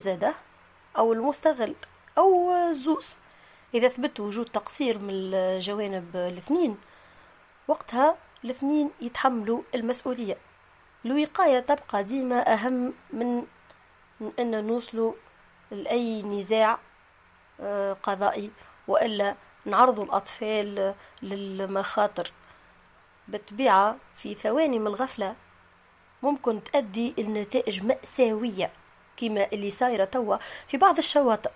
زاده أو المستغل أو الزوز. إذا ثبت وجود تقصير من الجوانب الاثنين، وقتها الاثنين يتحملوا المسؤولية. الوقاية تبقى ديما أهم من أن نوصلوا لأي نزاع قضائي وإلا نعرضوا الأطفال للمخاطر. بالطبيعة في ثواني من الغفلة ممكن تؤدي النتائج مأساوية كما اللي صايرة توا في بعض الشواطئ.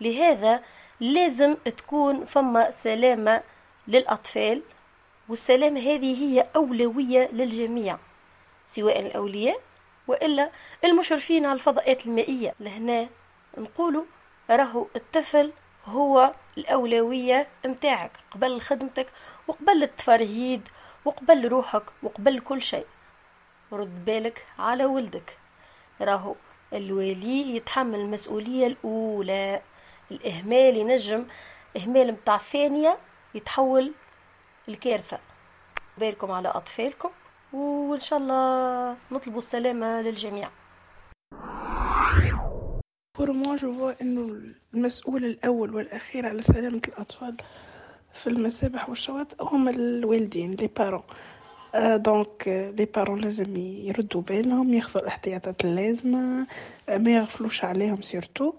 لهذا لازم تكون فما سلامة للأطفال، والسلامة هذه هي أولوية للجميع، سواء الأولياء وإلا المشرفين على الفضاءات المائية. لهنا نقولوا راهو الطفل هو الأولوية متاعك قبل خدمتك وقبل التفرهيد وقبل روحك وقبل كل شيء. رد بالك على ولدك، راهو الولي يتحمل المسؤولية الأولى. الإهمال ينجم إهمال متاع ثانية يتحول الكارثة. بالكم على أطفالكم، وإن شاء الله نطلب السلامة للجميع. Pour moi je vois إنه المسؤول الأول والأخير على سلامة الأطفال في المسابح والشواطئ هم الوالدين، les parents. donc les parents لازم يردوا بالهم، ياخذوا الاحتياطات اللازمة، ما يغفلوش عليهم surtout،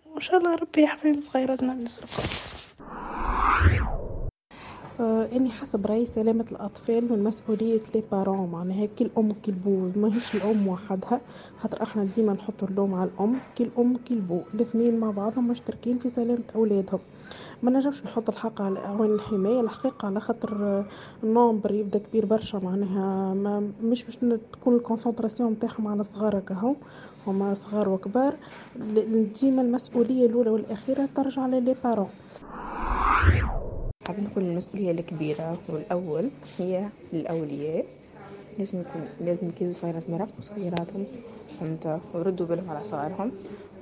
وإن شاء الله ربي يحميهم صغيراتنا الناس الكل. اني حسب رايي سلامه الاطفال من مسؤولية les parents، معناها كي الام كي البو، ماهيش الام وحدها، خاطر احنا ديما نحطوا اللوم على الام، كي الام كي البو الاثنين مع بعضهم مشتركين في سلامه اولادهم. ما نجمش نحط الحق على اعوان الحماية الحقيقة، على خاطر ال nombre يبدا كبير برشا، معناها ما مش باش تكون ال concentration نتاعهم على الصغار كهو، هما صغار وكبار. ديما المسؤولية الاولى والاخيرة ترجع ل les parents. حابين نقول المسؤولية الكبيرة والأول هي للأولياء، لازم يكونوا صغيرات يراقبوا صغيراتهم، فهمت، ويردوا بالهم على صغارهم.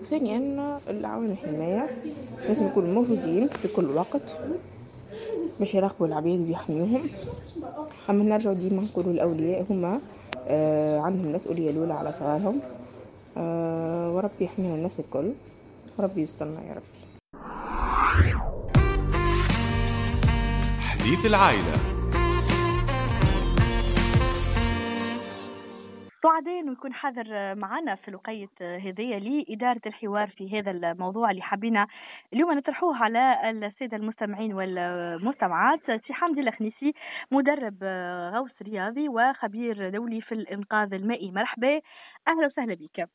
وثانيا العوامل الحماية لازم يكونوا موجودين في كل وقت باش يراقبوا العبيد ويحميوهم. أما نرجع ديما نقولوا الأولياء هما عندهم المسؤولية الأولى على صغارهم، وربي يحمينا الناس الكل، وربي يسترنا يا رب. حديث العائلة. سعداء انه يكون حاضر معنا في الوقيت هذية لإدارة الحوار في هذا الموضوع اللي حبينا اليوم نطرحوه على السادة المستمعين والمستمعات. سي حمدي الخنيسي، مدرب غوص رياضي وخبير دولي في الإنقاذ المائي، مرحبا، أهلا وسهلا بك.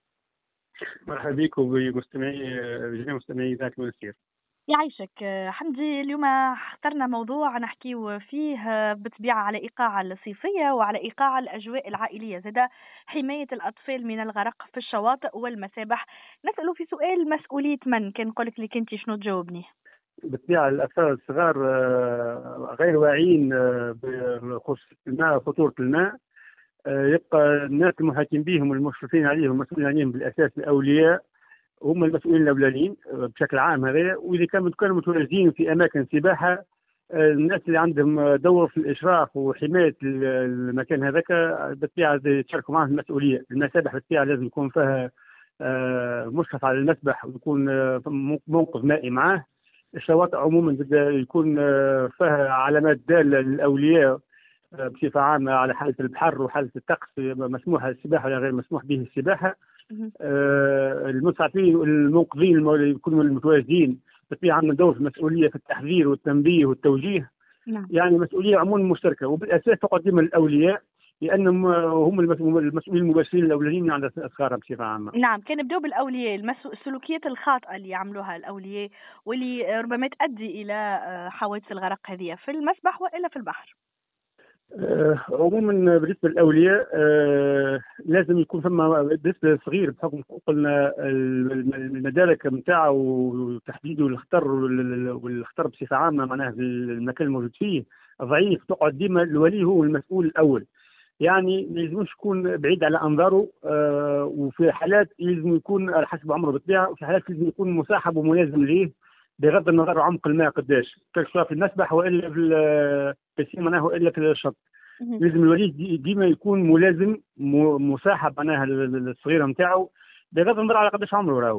مرحبا بك وبمستمعي جميع مستمعي ذات المنستير. يعيشك حمدي. اليوم اخترنا موضوع نحكيو فيه بالطبيعة على إيقاع الصيفية وعلى إيقاع الأجواء العائلية، زاد حماية الأطفال من الغرق في الشواطئ والمسابح. نسأل في سؤال مسؤولية من؟ كان نقولك لك أنت شنو تجاوبني؟ بالطبيعة الأطفال الصغار غير واعيين بخصوص الماء وخطورة الماء. يبقى الناس المحاكم بهم والمشرفين عليهم والمسؤولين عليهم بالأساس الأولياء، هم المسؤولين الاولانيين بشكل عام هذا. واذا كانوا متواجدين في اماكن سباحة، الناس اللي عندهم دور في الاشراف وحماية المكان هذاك بالطبيعة يتشاركوا معهم المسؤولية. المسابح بالطبيعة لازم يكون فيها مشرف على المسبح ويكون منقذ مائي معاه. الشواطئ عموما يكون فيها علامات داله للاولياء بصفة عامة على حاله البحر وحاله الطقس، مسموح السباحة ولا غير مسموح به السباحة. المسعفين والمنقذين يكونوا المتواجدين بالطبيعة عندهم دور في المسؤولية في التحذير والتنبيه والتوجيه. نعم. يعني مسؤولية عموما مشتركة، وبالاساس تقدم الاولياء لانهم هم المسؤولين المباشرين الاولين عند اصغارهم بصفة عامة. نعم، كان نبداو بالاولياء، السلوكيات الخاطئة اللي يعملوها الاولياء واللي ربما تؤدي الى حوادث الغرق هذه في المسبح والا في البحر. عموما بالنسبة للاولياء لازم يكون فما بالنسبة للصغير بحكم قلنا المدارك نتاعو وتحديده الخطر والخطر بصفة عامة، معناها في المكان الموجود فيه ضعيف، تقعد ديما الولي هو المسؤول الاول. يعني ما يلزمش يكون بعيد على انظاره، وفي حالات لازم يكون على حسب عمره بالطبيعة، وفي حالات لازم يكون مصاحب وملازم ليه بغض النظر عمق الماء قداش، سواء في المسبح والا في ال piscine معناها والا في الشط. لازم الولي ديما يكون ملازم مصاحب معناها الصغيرة نتاعو بغض النظر على قداش عمره راهو.